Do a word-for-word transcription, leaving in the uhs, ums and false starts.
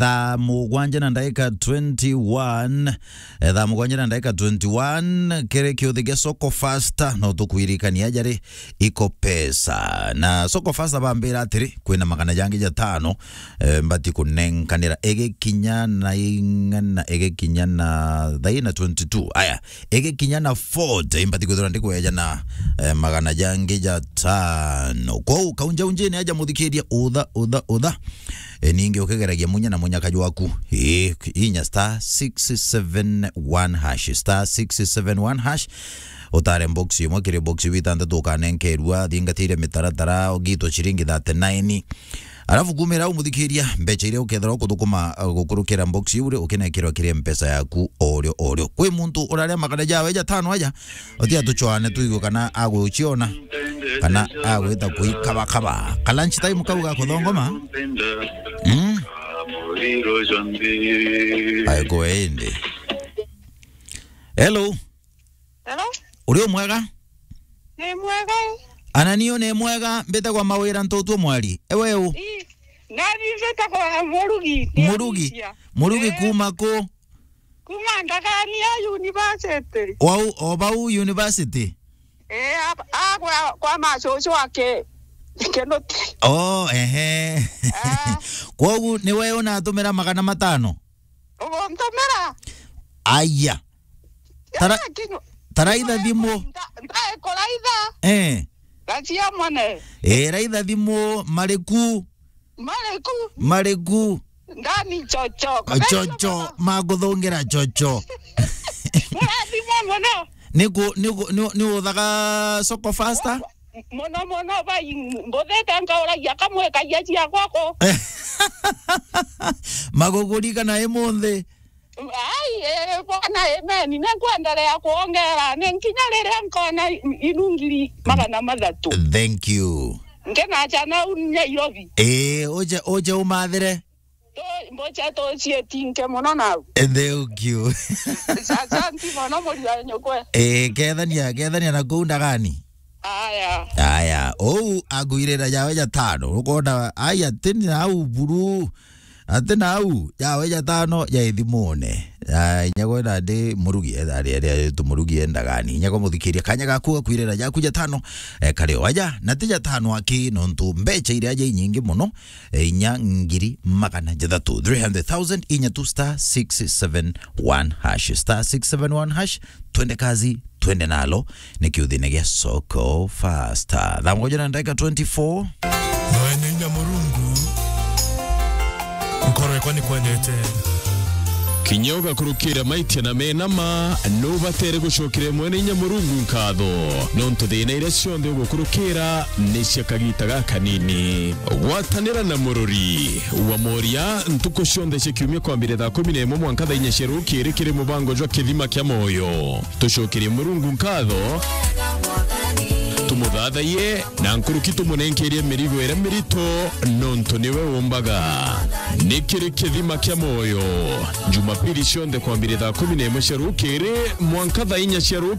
thaa mugwanja na ndagika twenty-one. Eh, thaa mugwanja na ndagika twenty-one, kiri kiuthi gia Soko Fasta, no tukwirikania jari iko pesa. Na Soko Fasta bambira atiri, kwina magana jangi jatano, eh, mbati kunenkanira igikinya na ing'ana, igikinya na thaa ina twenty-two. Aya, igikinya na forty, mbati kwithirwa ndikweja na, eh, magana jangi jatano. Kwou, kaunjaunjini aja muthikiria utha, utha, utha. E, ningi ukigeragia munya na munyaka jwaku. E, inya star six seven one hash, star six seven one hash. Utare box imwe kiri box iu itantatu ukanenkerua, thingatire mitaratara, ugitwa ciringi thirty-nine. Alafu kumira au muthikiria, mbecha iria ukethira ukuthukuma, uh, gukurukira box iu ri, ukinenkerwa kiri mpesa yaku orio orio. Kwi muntu uraria magana jawe jatano aja, uti atuchwane tuigue kana aguchiona. Kana agwita kuikabakaba. Ka lunch time kau ga kuthongoma? Mm. Ai, kwe indi. Hello. Hello? Uri o mwega? Ni mwega. Ana niyo ni mwega, mbitagwa Mawira Ntutu Mwari. Ewe u? Ii. Nani mbitagwa Murugi. Murugi? Murugi. Eh. Kuma ku? Kuma Ndagani ya university. Wau, o bau university? Eh, a, a, kwa, kwa macucu ake Kinuti. Oh, ehe. Ah. Kwogu ni we unatumira magana matano? Uguntumira? Aya. Tara-, Lakini taraitha thimu. Nda-, ndaikuraitha. Eh. Gachia mone. Eh, raitha thimu, mariku. Mariku. Mariku. Ndani chocho. Chocho, maguthungira chocho. Murathimwa muno. Niku, niku, ni, ni uthaga Soko Fasta? Muno muno bai, mbuthite nkauragia kamwe kagia ciakwa ku. Maguguri kana imunthi? Ai, eh, bwana, amen. Ni nkwendelea kuongera. Ni nkinya riria nkona i-, inu ngiri magana mathatu. Thank you. Nkinacha nau Nairobi. Eh, uje, uje umathire. Tu-, mbocha tucietinke muno nau. Eh, thank you. Asanti muno muri wa nyukwe. Eh, kethania, kethania na kuu Ndagani. Aya. Aya, ou agwirira jawe jatano. Ukona, aya, tini nau buru. Ati nau, jawe jatano ja ithimone. Ya, inya gwe nandi Murugi, eh, ari, ari, ari tu Murugi e Ndagani. Inya gwe muthikiria, kanya gaku gakwirira jaku jatano, eh, kari o aja, na ti jatano aki, nontu mbecha iria aja inyingi muno, eh, inya ngiri magana jathatu, three hundred thousand, inya tu star six seven one hash, star six seven one hash, twende kazi, twende nalo, ni kiuthine gia Soko Fasta. Thaa moja na dakika twenty-four. Mwene inya Murungu, nkoro yakwa ni kwendete. Kinya ugakurukira maitia na menama, nubatere gucokera Mwene inya Murungu nkatho, nontu thina iria cionthe ugukurukira ni cia kagita gakanini. Gwatanira na Mururi wa Moria ntuku cionthe cia kiumia kwambire thaa kumi na imwe mwanka thaa inya cia rukiri kiri mubango jwa Kithima kia Moyo. Tucokerie Murungu nkatho, tumuthathaiye, na nkuruki tumunenkerie mirigo iria mirito, nontu niwe umbaga. Ni kiri Kithima kia Moyo, Jumapili cionthe kwambire thaa kumi na imwe cia rukiri mwanka thaa inya cia rukiri.